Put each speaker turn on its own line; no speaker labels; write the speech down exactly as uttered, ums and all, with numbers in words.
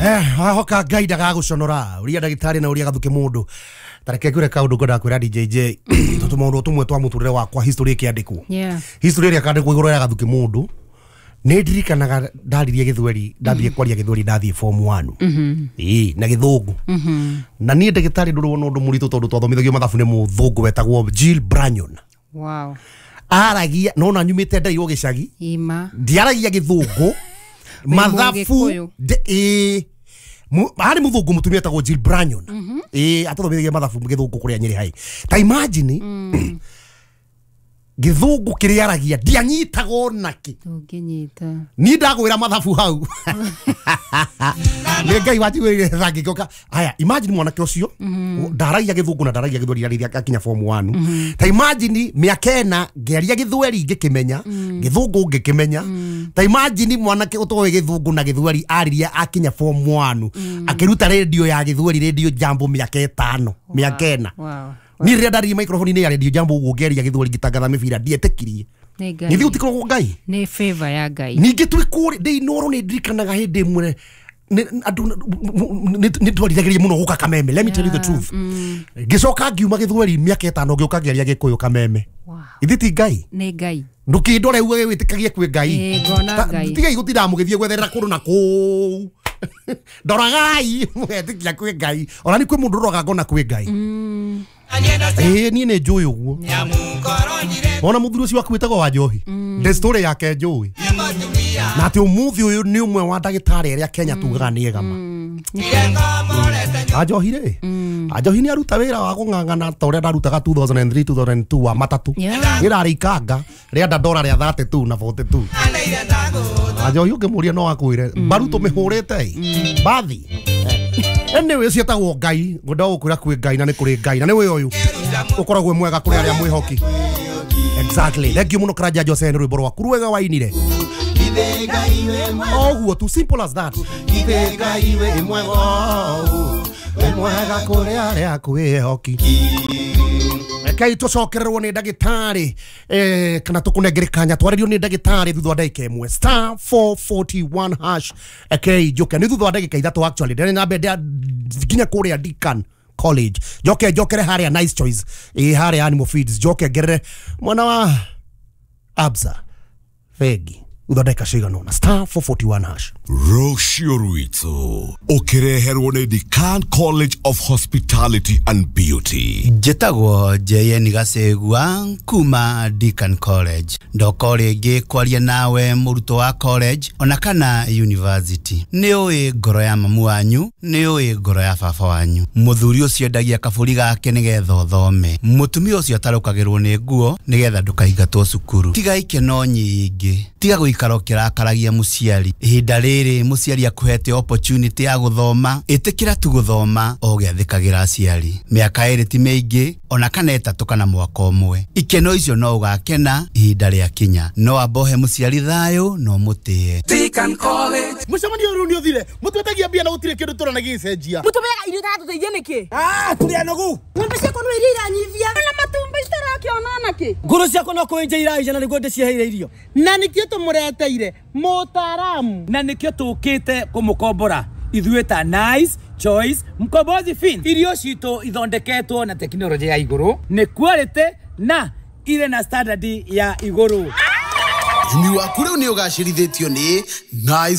Eh, wahoka Ngai ndagagũconora ũria ndagĩtarĩ na ũria gathuke mũndũ. Tareke ngwĩre kaũndũ ngwendaga kwĩra D J J tondũ maũndũ tũmwe twa mũtũrĩre wakwa history ĩkĩandĩkwo.
Yeah.
History ĩrĩa ĩkandĩkwo igũrũ ya gathuke mũndũ nĩ ndirikanaga ndaririe gĩthweri ndathiĩ kwaria gĩthweri ndathiĩ form one.
Mhm.
Ĩĩ na gĩthũngũ.
Mhm.
Na niĩ ndagĩtarĩ ndũrĩ wona ũndũ mũritũ tondũ twathomithagio mathabu nĩ mũthũngũ wetagwo Jill Branyon.
Wow.
Aragia no na nyumĩte ndairwo gĩcagi.
Ima.
Ndiaragia gĩthũngũ. Mathabu ĩĩ harĩ mũthũngũ mũtumia etagwo Jill Branyon. Ĩĩ atũthomithagia mathabu gĩthũngũ kũrĩa Nyĩrĩ hai. Ta imagine gĩthũngũ kĩrĩa aragia ndianyitaga onakĩ.
Ndũngĩnyita.
Niĩ ndagwĩra mathabu hau. Nĩ Ngai wanjiguĩrĩire tha ngĩgĩũka. Aya, imagine mwanake ũcio ndaragia gĩthũngũ na ndaragia gĩthweri rĩrĩa akinya form one. Ta imagine mĩaka ĩna ngĩaria gĩthweri ngĩkĩmenya, gĩthũngũ ngĩkĩmenya. Ta imagine mwanake ũtoĩ gĩthũngũ na gĩthweri aririe akinya form one akĩruta radio ya gĩthweri Radio Jambo mĩaka ĩtano, mĩaka ĩna.
Wow.
Niĩ rĩrĩa ndaririe microphone-inĩ ya Radio Jambo ũguo ngĩaria gĩthweri ngĩtangatha mĩbira ndietĩkirie.
Nĩ Ngai.
Nĩ thiĩ gũtikoragwo Ngai.
Nĩ favor ya Ngai.
Ningĩ twĩ kũrĩa ndĩ Inooro nĩ ndirikanaga hĩndĩ ĩmwe andũ nĩ twarithagĩria mũno gũka Kameme. Let me tell you the truth. Ngĩcoka ngiuma gĩthweri mĩaka ĩtano ngĩũka ngĩaria Gĩkũyũ Kameme. Ithe ti Ngai.
Nĩ Ngai.
Ndũkĩndore uge wĩtĩkagie kwĩ Ngai.
Ngona Ngai.
Tigai gũtinda mũgĩthiĩ gwetherera kũndũ na kũu. Ndoragai mũgetĩkia kwĩ Ngai. Ona nĩ kwĩ mũndũ ũroraga ngona kwĩ Ngai. Ĩĩ niĩ nĩ njũĩ ũguo. Ona mũthuri ũcio waku wĩtagwo wa Njohi. The story yake njũĩ. Na atĩ ũmũthĩ ũyũ nĩ ũmwe wa ndagĩtarĩ arĩa Kenya tugaga nĩ ega ma. Anjohi rĩ, Anjohi nĩ aruta wĩra wa kũng'ang'ana ta ũrĩa ndarutaga two thousand three, two thousand two wa matatũ. Niĩ ndarĩ ikanga rĩa ndora rĩa thirty two na forty two. Anjohi ũngĩmũria no akwĩre mbaru tũmĩhũrĩte ĩ bathi. Anyway, ũcio etagwo Ngai, ngwenda gũkwĩra kwĩ Ngai na nĩ kũrĩ Ngai na nĩwe ũyũ ũkoragwo mwega kũrĩ arĩa mwĩhoki. Exactly. Thank you mũno Karanja Jose nĩ rwĩmbo rwaku rwega wainire. Oguo tu, simple as that. Ithe Ngai wĩ mwega, wĩ mwega kũrĩ arĩa akwĩhoki. Rekei tũcokererwo nĩ ndagĩtarĩ eh, kana tũkũnengere kanya twarĩrio nĩ ndagĩtarĩ thutha wa ndagĩka ĩmwe star four forty-one hash. Rekei njoke nĩ thutha wa ndagĩka ithatũ actually ndĩrĩ na mbere nginya kũrĩa Deakin College njoke njokere harĩa Nice Choice ĩ harĩa Animal Feeds njoke ngerere mwana wa Absa Fegi thutha wa ndagĩka cigana ũna star four forty-one hash.
Rũciũ rwitũ ũkĩreherwo nĩ Deakin College of Hospitality and Beauty.
Njĩtagwo J N Gacegua kuma Deakin College. Ndoka rĩngĩ kwaria nawe mũrutwo wa college ona kana university. Nĩ ũĩ ngoro ya mamu wanyu, nĩ ũĩ ngoro ya baba wanyu. Mũthuri ũcio endagia kabũri gake nĩgetha ũthome. Mũtumia ũcio atarũkagĩrwo nĩ nguo nĩgetha ndũkaingatwo cukuru. Tiga ikeno nyingĩ, tiga gũikara ũkĩrakaragia mũciari. Ihinda rĩrĩ mũciari akuhete opportunity ya gũthoma, ĩtĩkĩra tu gũthoma o ũgĩathĩkagĩra aciari. Mĩaka ĩrĩ ti mĩingĩ ona kana ĩtatũ kana mwaka ũmwe. Ikeno icio no ũgakena ihinda rĩakinya. No ambohe mũciari thayũ no mũtĩe.
Deakin College.
Mũcemanio ũyũ nĩ ũthire. Mũtwetagia mbia na gũtirĩ kĩndũ tũrona gĩgĩcenjia.
Mũtũmeaga irio itatũteithia nĩkĩ?
Ah, tũrĩ anogu.
Ng'ombe ciakwa no iria iranyivia. Na matumbĩ citarakĩona nakĩ?
Ngũrũ ciakwa no kũenja iraija na nĩguo ndĩciheire irio.
Na nĩkĩo tũmũreteire mũtaaramu.
Na nĩkĩo tũkĩte kũmũkombora ithuĩ ta Nice Choice Mkombozi Fin. Irio citũ ithondeketwo na tekinoronjĩ ya igũrũ, nĩ quality na irĩ na standard ya igũrũ.
Ũrĩmi waku rĩu nĩ ũgacĩrithĩtio nĩ Nice